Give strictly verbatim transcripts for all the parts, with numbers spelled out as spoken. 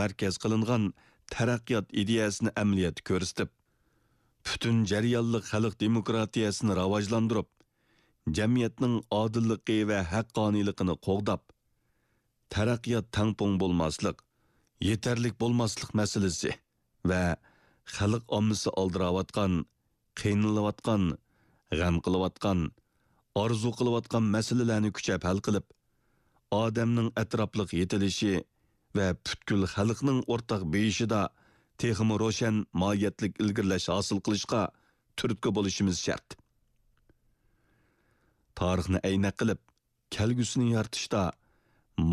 مەركەز قىلىنغان تەرەققىيات ئىدىيەسىنى ئەمەلىيەتتە كۆرسىتىپ، پۈتۈن جەريانلىق خەلق دېموكراتىيەسىنى راۋاجلاندۇرۇپ، جەمئىيەتنىڭ ئادىللىقى ۋە ھەققانىيلىقىنى قوغداپ، تەرەققىيات تەڭپۇڭ بولماسلىق، يېتەرلىك بولماسلىق مەسىلىسى ۋە خەلق ئاممىسى ئالدىراۋاتقان، قىينىلىۋاتقان، غەم قىلىۋاتقان، ئارزۇ قىلىۋاتقان مەسىلىلەرنى كۈچەپ ھەل قىلىپ، ئادەمنىڭ ئەتراپلىق يېتىلىشى ۋە پۈتكۈل خەلقنىڭ ئورتاق بېيىشىدا تېخىمۇ روشەن ماھىيەتلىك ئىلگىرىلەش ھاسىل قىلىشقا تۈرتكە بولۇشىمىز شەرت. تارىخنى ئەينەك قىلىپ، كەلگۈسىنى يارىتىشتا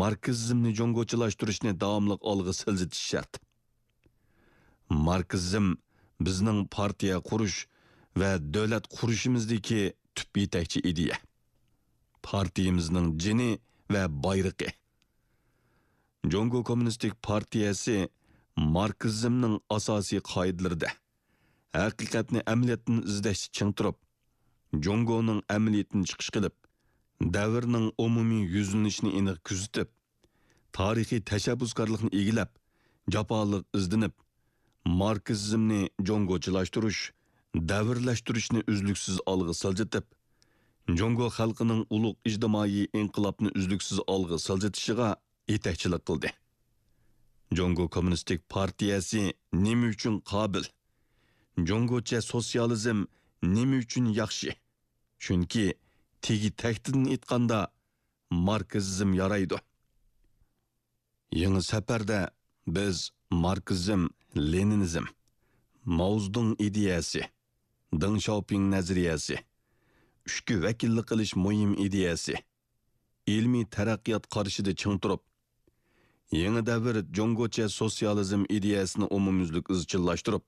ماركسىزمنى جۇڭگوچىلاشتۇرۇشنى داۋاملىق ئالغا سىلجىتىش شەرت. ماركسىزم بىزنىڭ پارتىيە قۇرۇش ۋە دۆلەت قۇرۇشىمىزدىكى تۈپ يېتەكچى ئىدىيە. پارتىيىمىزنىڭ جېنى ۋە بايرىقى. جۇڭگو كوممۇنىستىك پارتىيەسى ماركسىزمنىڭ ئاساسىي قائىدىلىرىدە ھەقىقەتنى ئەمەلىيەتتىن ئىزدەشتە چىڭ تۇرۇپ، جۇڭگونىڭ ئەمەلىيىتىدىن چىقىش قىلىپ، دەۋرنىڭ ئومۇمىي يۈزلىنىشىنى ئېنىق كۆزىتىپ، تارىخىي تەشەببۇسكارلىقنى ئىگىلەپ، جاپالىق ئىزدىنىپ، ماركسىزمنى جۇڭگوچىلاشتۇرۇش، دەۋرلەشتۈرۈشنى ئۈزلۈكسىز ئالغا سىلجىتىپ، جۇڭگو خەلقىنىڭ ئۇلۇغ ئىجتىمائىي ئىنقىلابنى ئۈزلۈكسىز ئالغا سىلجىتىشىغا يېتەكچىلىك قىلدى. جۇڭگو كوممۇنىستىك پارتىيەسى نېمە ئۈچۈن قابىل؟ جۇڭگوچە سوتسىيالىزم نېمە ئۈچۈن ياخشى؟ چۈنكى تېگى تەكتىدىن ئېيتقاندا، ماركسىزم يارايدۇ. يېڭى سەپەردە بىز ماركسىزم، لېنىنىزم، ماۋزېدۇڭ ئىدىيەسى، دېڭ شياۋپىڭ نەزەرىيەسى، ئۈچكە ۋەكىللىك قىلىش مۇھىم ئىدىيەسى، ئىلمىي تەرەققىيات قارىشىدا چىڭ تۇرۇپ، يېڭى دەۋر جۇڭگوچە سوتسىيالىزم ئىدىيەسىنى ئومۇميۈزلۈك ئىزچىللاشتۇرۇپ،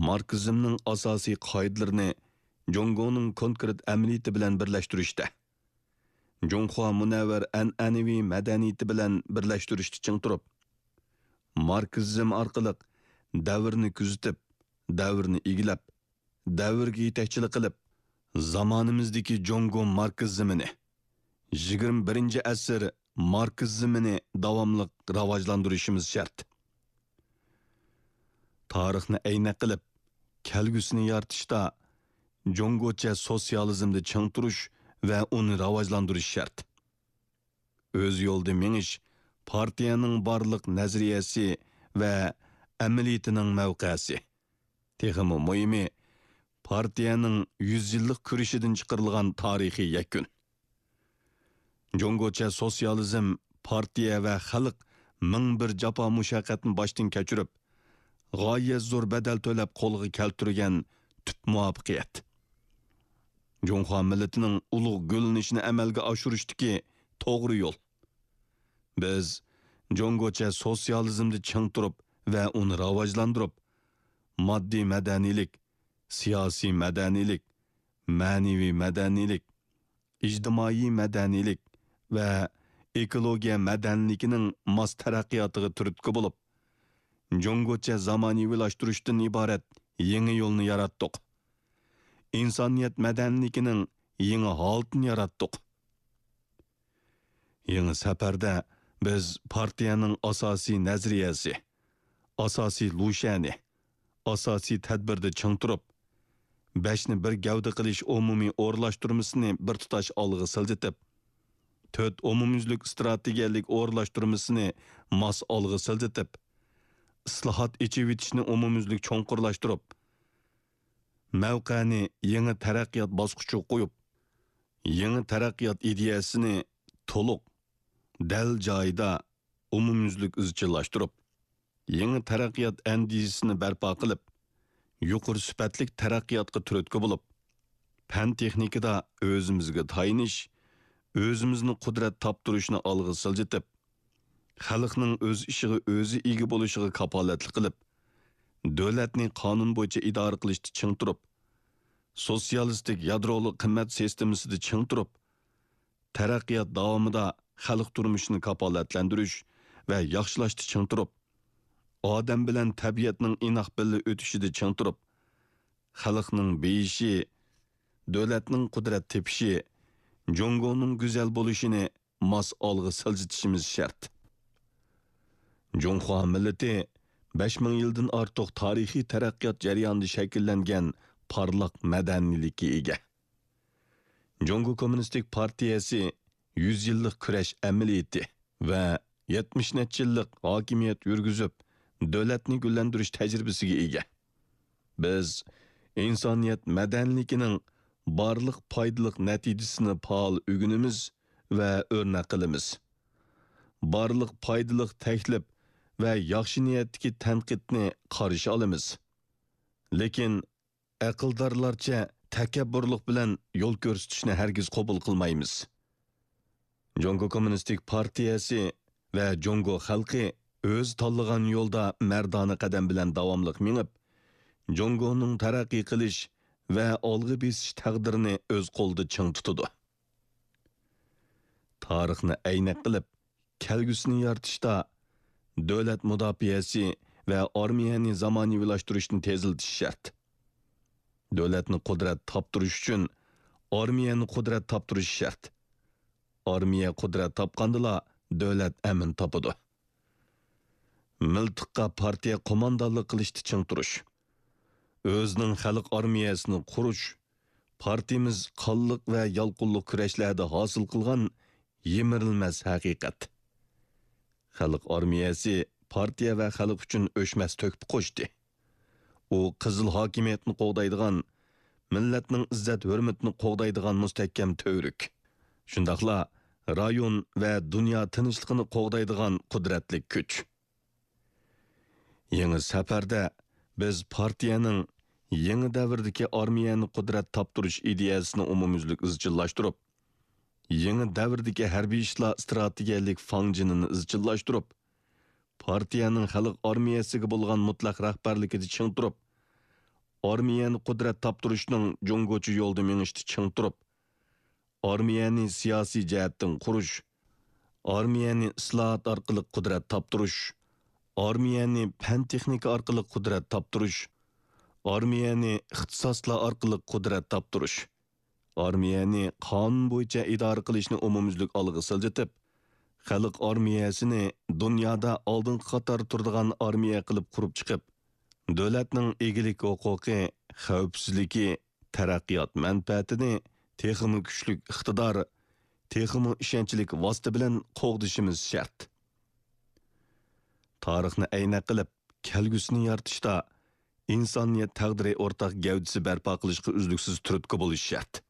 ماركسىزمنىڭ ئاساسىي قائىدىلىرىنى جۇڭگونىڭ كونكرېت ئەمەلىيىتى بىلەن بىرلەشتۈرۈشتە، جۇڭخۇا مۇنەۋۋەر ئەنئەنىۋى مەدەنىيىتى بىلەن بىرلەشتۈرۈشتە چىڭ تۇرۇپ، ماركسىزم ئارقىلىق دەۋرنى كۆزىتىپ، دەۋرنى ئىگىلەپ، دەۋرگە يېتەكچىلىك قىلىپ، زامانىمىزدىكى جۇڭگو ماركسىزمىنى، يىگىرمە بىرىنچى ئەسىر ماركسىزمىنى داۋاملىق راۋاجلاندۇرۇشىمىز شەرت. تارىخنى ئەينەك قىلىپ، كەلگۈسىنى يارىتىشتا جۇڭگوچە سوتسىيالىزمدا چىڭ تۇرۇش ۋە ئۇنى راۋاجلاندۇرۇش شەرت. ئۆز يولىدا مېڭىش پارتىيەنىڭ بارلىق نەزەرىيەسى ۋە ئەمەلىيىتىنىڭ مەۋقەسى. تېخىمۇ مۇھىمى، پارتىيەنىڭ يۈز يىللىق كۈرىشىدىن چىقىرىلغان تارىخىي يەكۈن. جۇڭگوچە سوتسىيالىزم پارتىيە ۋە خەلق مىڭ بىر جاپا مۇشەققەتنى باشتىن كەچۈرۈپ، غايەت زور بەدەل تۆلەپ قولغا كەلتۈرگەن تۈپ مۇۋەپپەقىيەت. جۇڭخۇا مىللىتىنىڭ ئۇلۇغ گۈللىنىشىنى ئەمەلگە ئاشۇرۇشتىكى توغرا يول. بىز جۇڭگوچە سوتسىيالىزمدا چىڭ تۇرۇپ ۋە ئۇنى راۋاجلاندۇرۇپ، ماددىي مەدەنىيلىك، سىياسىي مەدەنىيلىك، مەنىۋى مەدەنىيلىك، ئىجتىمائىي مەدەنىيلىك ۋە ئېكولوگىيە مەدەنىيلىكىنىڭ ماس تەرەققىياتىغا تۈرتكە بولۇپ، جۇڭگوچە زامانىۋىلاشتۇرۇشتىن ئىبارەت يېڭى يولنى ياراتتۇق. ئىنسانىيەت مەدەنىيلىكىنىڭ يېڭى ھالىتىنى ياراتتۇق. يېڭى سەپەردە بىز پارتىيەنىڭ ئاساسىي نەزەرىيەسى، ئاساسىي لۇشيەنى، ئاساسىي تەدبىردە چىڭ تۇرۇپ، بەشنى بىر گەۋدە قىلىش ئومۇمىي ئورۇنلاشتۇرمىسىنى بىر تۇتاش ئالغا سىلجىتىپ، تۆت ئومۇميۈزلۈك ئىستراتېگىيەلىك ئورۇنلاشتۇرمىسىنى ماس ئالغا سىلجىتىپ، ئىسلاھات، ئېچىۋېتىشنى ئومۇميۈزلۈك چوڭقۇرلاشتۇرۇپ، مەۋقەنى يېڭى تەرەققىيات باسقۇچىغا قويۇپ، يېڭى تەرەققىيات ئىدىيەسىنى تولۇق، دەل جايىدا، ئومۇميۈزلۈك ئىزچىللاشتۇرۇپ، يېڭى تەرەققىيات ئەندىزىسىنى بەرپا قىلىپ، يۇقىرى سۈپەتلىك تەرەققىياتقا تۈرتكە بولۇپ، پەن-تېخنىكىدا ئۆزىمىزگە تايىنىش، ئۆزىمىزنى قۇدرەت تاپتۇرۇشنى ئالغا سىلجىتىپ، خەلقنىڭ ئۆز ئىشىغا ئۆزى ئىگە بولۇشىغا كاپالەتلىك قىلىپ، دۆلەتنى قانۇن بويىچە ئىدارە قىلىشتا چىڭ تۇرۇپ، سوتسىيالىستىك يادرولۇق قىممەت سىستېمىسىدا چىڭ تۇرۇپ، تەرەققىيات داۋامىدا خەلق تۇرمۇشىنى كاپالەتلەندۈرۈش ۋە ياخشىلاشتا چىڭ تۇرۇپ، ئادەم بىلەن تەبىئەتنىڭ ئىناق بىللە ئۆتۈشىدە چىڭ تۇرۇپ، خەلقنىڭ بېيىشى، دۆلەتنىڭ قۇدرەت تېپىشى، جۇڭگونىڭ گۈزەل بولۇشىنى ماس ئالغا سىلجىتىشىمىز شەرت. جۇڭخۇا مىللىتى بەش مىڭ يىلدىن ئارتۇق تارىخىي تەرەققىيات جەريانىدا شەكىللەنگەن پارلاق مەدەنىيلىككە ئىگە. جۇڭگو كوممۇنىستىك پارتىيەسى يۈز يىللىق كۈرەش ئەمەلىيىتى ۋە يەتمىش نەچچە يىللىق ھاكىمىيەت يۈرگۈزۈپ، دۆلەتنى گۈللەندۈرۈش تەجرىبىسىگە ئىگە. بىز ئىنسانىيەت مەدەنىيلىكىنىڭ بارلىق پايدىلىق نەتىجىسىنى پائال ئۆگىنىمىز ۋە ئۆرنەك قىلىمىز. بارلىق پايدىلىق تەكلىپ ۋە ياخشى نىيەتتىكى تەنقىدنى قارشى ئالىمىز. لېكىن ئەقىلدارلارچە تەكەببۇرلۇق بىلەن يول كۆرسىتىشنى ھەرگىز قوبۇل قىلمايمىز. جۇڭگو كوممۇنىستىك پارتىيەسى ۋە جۇڭگو خەلقى ئۆزى تاللىغان يولدا مەردانە قەدەم بىلەن داۋاملىق مېڭىپ، جۇڭگونىڭ تەرەققىي قىلىش ۋە ئالغا بېسىش تەقدىرىنى ئۆز قولىدا چىڭ تۇتىدۇ. تارىخنى ئەينەك قىلىپ، كەلگۈسىنى يارىتىشتا دۆلەت مۇداپىئەسى ۋە ئارمىيەنى زامانىۋىلاشتۇرۇشنى تېزلىتىش شەرت. دۆلەتنى قۇدرەت تاپتۇرۇش ئۈچۈن ئارمىيەنى قۇدرەت تاپتۇرۇش شەرت. ئارمىيە قۇدرەت تاپقاندىلا دۆلەت ئەمىن تاپىدۇ. مىلتىققا پارتىيە قوماندانلىق قىلىشتا چىڭ تۇرۇش. ئۆزىنىڭ خەلق ئارمىيەسىنى قۇرۇش، پارتىيىمىز قانلىق ۋە يالقۇنلۇق كۈرەشلەردە ھاسىل قىلغان يىمىرىلمەس ھەقىقەت. خەلق ئارمىيەسى پارتىيە ۋە خەلق ئۈچۈن ئۆچمەس تۆھپە قوشتى. ئۇ قىزىل ھاكىمىيەتنى قوغدايدىغان، مىللەتنىڭ ئىززەت-ھۆرمىتىنى قوغدايدىغان مۇستەھكەم تۈۋرۈك. شۇنداقلا رايون ۋە دۇنيا تىنچلىقىنى قوغدايدىغان قۇدرەتلىك كۈچ. يېڭى سەپەردە بىز پارتىيەنىڭ يېڭى دەۋردىكى ئارمىيەنى قۇدرەت تاپتۇرۇش ئىدىيەسىنى ئومۇميۈزلۈك ئىزچىللاشتۇرۇپ، يېڭى دەۋردىكى ھەربىي ئىشلار ئىستراتېگىيەلىك فاڭجېنىنى ئىزچىللاشتۇرۇپ، پارتىيەنىڭ خەلق ئارمىيەسىگە بولغان مۇتلەق رەھبەرلىكىدە چىڭ تۇرۇپ، ئارمىيەنى قۇدرەت تاپتۇرۇشنىڭ جۇڭگوچە يولىدا مېڭىشتا چىڭ تۇرۇپ، ئارمىيەنى سىياسىي جەھەتتىن قۇرۇش، ئارمىيەنى ئىسلاھات ئارقىلىق قۇدرەت تاپتۇرۇش، ئارمىيەنى پەن-تېخنىكا ئارقىلىق قۇدرەت تاپتۇرۇش، ئارمىيەنى ئىختىساسلار ئارقىلىق قۇدرەت تاپتۇرۇش، ئارمىيەنى قانۇن بويىچە ئىدارە قىلىشنى ئومۇميۈزلۈك ئالغا سىلجىتىپ، خەلق ئارمىيەسىنى دۇنيادا ئالدىنقى قاتاردا تۇرىدىغان ئارمىيە قىلىپ قۇرۇپ چىقىپ، دۆلەتنىڭ ئىگىلىك ھوقۇقى، خەۋپسىزلىكى، تەرەققىيات مەنپەئەتىنى تېخىمۇ كۈچلۈك ئىقتىدار، تېخىمۇ ئىشەنچلىك ۋاسىتە بىلەن قوغدىشىمىز شەرت. تارىخنى ئەينەك قىلىپ، كەلگۈسىنى يارىتىشتا ئىنسانىيەت تەقدىرى ئورتاق گەۋدىسى بەرپا قىلىشقا ئۈزلۈكسىز تۈرتكە بولۇش شەرت.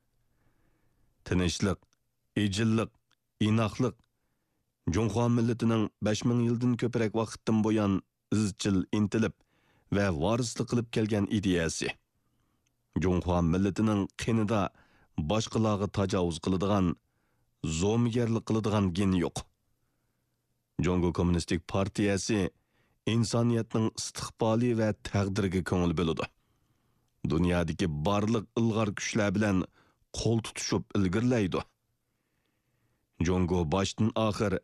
تىنچلىق، ئىجىللىق، ئىناقلىق، جۇڭخۇا مىللىتىنىڭ بەش مىڭ يىلدىن كۆپرەك ۋاقىتتىن بۇيان ئىزچىل ئىنتىلىپ ۋە ۋارىسلىق قىلىپ كەلگەن ئىدىيەسى. جۇڭخۇا مىللىتىنىڭ قېنىدا باشقىلارغا تاجاۋۇز قىلىدىغان، زومىگەرلىك قىلىدىغان گېنى يوق. جۇڭگو كوممۇنىستىك پارتىيەسى ئىنسانىيەتنىڭ ئىستىقبالى ۋە تەقدىرىگە كۆڭۈل بۆلىدۇ. دۇنيادىكى بارلىق ئىلغار كۈچلەر بىلەن قول تۇتۇشۇپ ئىلگىرىلەيدۇ. جۇڭگو باشتىن ئاخىر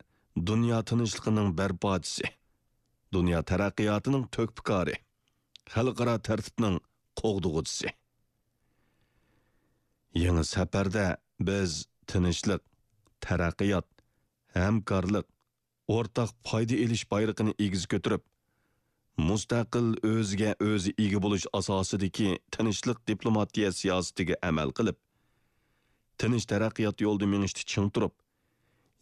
دۇنيا تىنچلىقىنىڭ بەرپاچىسى، دۇنيا تەرەققىياتىنىڭ تۆھپىكارى، خەلقئارا تەرتىپنىڭ قوغدىغۇچىسى. يېڭى سەپەردە بىز تىنچلىق، تەرەققىيات، ھەمكارلىق، ئورتاق پايدا ئېلىش بايرىقىنى ئېگىز كۆتۈرۈپ، مۇستەقىل، ئۆزىگە ئۆزى ئىگە بولۇش ئاساسىدىكى تىنچلىق دىپلوماتىيە سىياسىتىگە ئەمەل قىلىپ، تىنچ تەرەققىيات يولىدا مېڭىشتا چىڭ تۇرۇپ،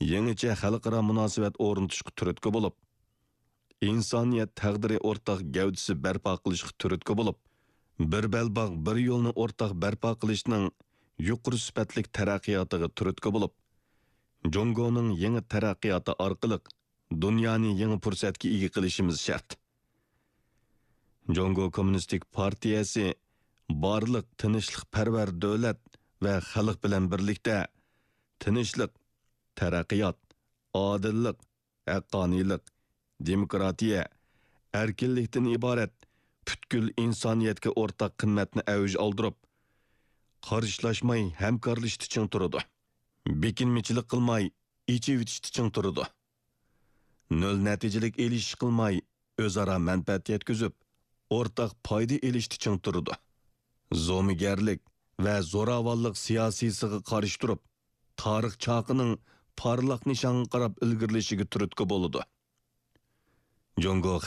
يېڭىچە خەلقئارا مۇناسىۋەت ئورنىتىشقا تۈرتكە بولۇپ، ئىنسانىيەت تەقدىرى ئورتاق گەۋدىسى بەرپا قىلىشقا تۈرتكە بولۇپ، بىر بەلباغ، بىر يولنى ئورتاق بەرپا قىلىشنىڭ يۇقىرى سۈپەتلىك تەرەققىياتىغا تۈرتكە بولۇپ، جۇڭگونىڭ يېڭى تەرەققىياتى ئارقىلىق دۇنيانى يېڭى پۇرسەتكە ئىگە قىلىشىمىز شەرت. جۇڭگو كوممۇنىستىك پارتىيەسى بارلىق تىنچلىقپەرۋەر دۆلەت ۋە خەلق بىلەن بىرلىكتە تىنچلىق، تەرەققىيات، ئادىللىق، ھەققانىيلىق، دېموكراتىيە، ئەركىنلىكتىن ئىبارەت پۈتكۈل ئىنسانىيەتكە ئورتاق قىممەتنى ئەۋج ئالدۇرۇپ، قارشىلاشماي ھەمكارلىشىشتا چىڭ تۇرىدۇ. بېكىنمىچىلىك قىلماي ئېچىۋېتىشتا چىڭ تۇرىدۇ. نۆل نەتىجىلىك ئېلىشىش قىلماي، ئۆزئارا مەنپەئەت يەتكۈزۈپ، ئورتاق پايدا ئېلىشتا چىڭ تۇرىدۇ. زومىگەرلىك ۋە زوراۋانلىق سىياسىيسىغا قارشى تۇرۇپ، تارىخ چاقىنىڭ پارلاق نىشانغا قاراپ ئىلگىرىلىشىگە تۈرتكە بولىدۇ. جۇڭگو